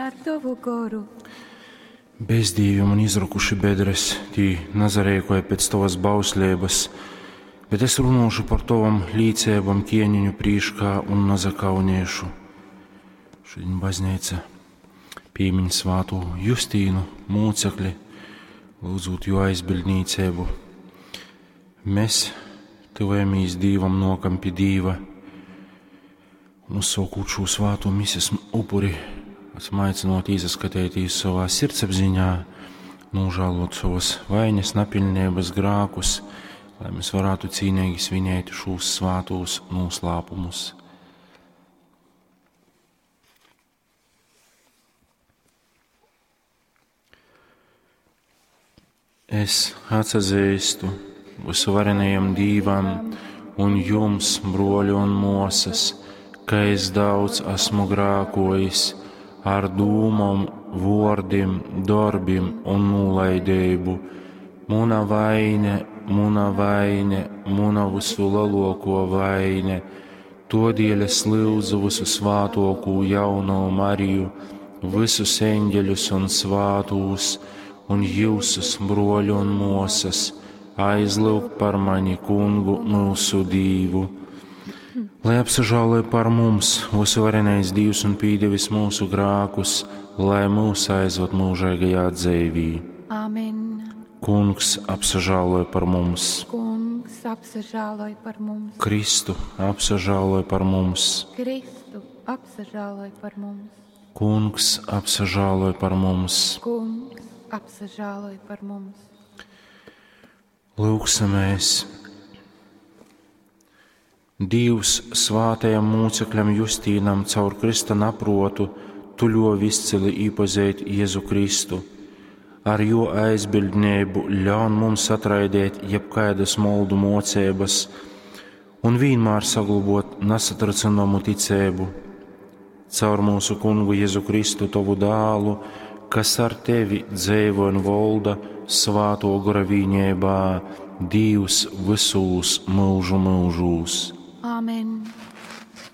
ar tovu goru. Bezdīvi man izrokuši bedres, tī nazareikoja pēc tovas bausleibas, bet es runōšu par tovom līceibom ķieniņu prīškā un nazakaunēšu. Šodien baznīca pīmiņ svātū Justīnu mūcekli, lūdzūt jo aizbildnīcību. Mēs tuvojamies Dīvam, nokam pie Dīva un uzsākot šo svāto mises upuri, esam aicināti izaskatīties savā sirdsapziņā, nožēlot savas vainas, nepilnības, grākus, lai mēs varētu cīnīgi svinēt šos svātos noslēpumus. Es atsazīstu visvarenajam Dīvam un jums, broļi un mosas, ka es daudz esmu grākojis ar dūmom, vordim, darbim un nolaidību. Muna vaine, muna vaine, muna visu lielāko vaine. Todēļ es lūdzu visu svātokū jauno Mariju, visus eņģeļus un svātūs, un jūsus broļu un mosas, aizlūgt par mani kungu mūsu Dīvu. Lai apsažāloja par mums, visvarenais Dievs un pīdevis mūsu grākus, lai mūs aizved mūžīgajā dzīvī. Amen. Kungs apsažāloja par mums, Kungs apsažāloj par mums. Kristu apsažāloja par mums, Kristu apsažāloj par mums. Kungs apsažāloja par mums. Kungs apsažāloj par mums. Lūksimies! Dievs svātajam mūcekļam Justīnam caur Krista naprotu tu ļovi izcili iepazīt Jēzu Kristu. Ar jo aizbildnību ļaun mums atraidēt jebkādas moldu mocības un vienmēr saglabot nesatracināmu ticību. Caur mūsu kungu Jēzu Kristu, tavu dālu, kas ar tevi dzīvo un valda svāto gora vīņībā, Dievs visūs mūžu mūžūs. Amen.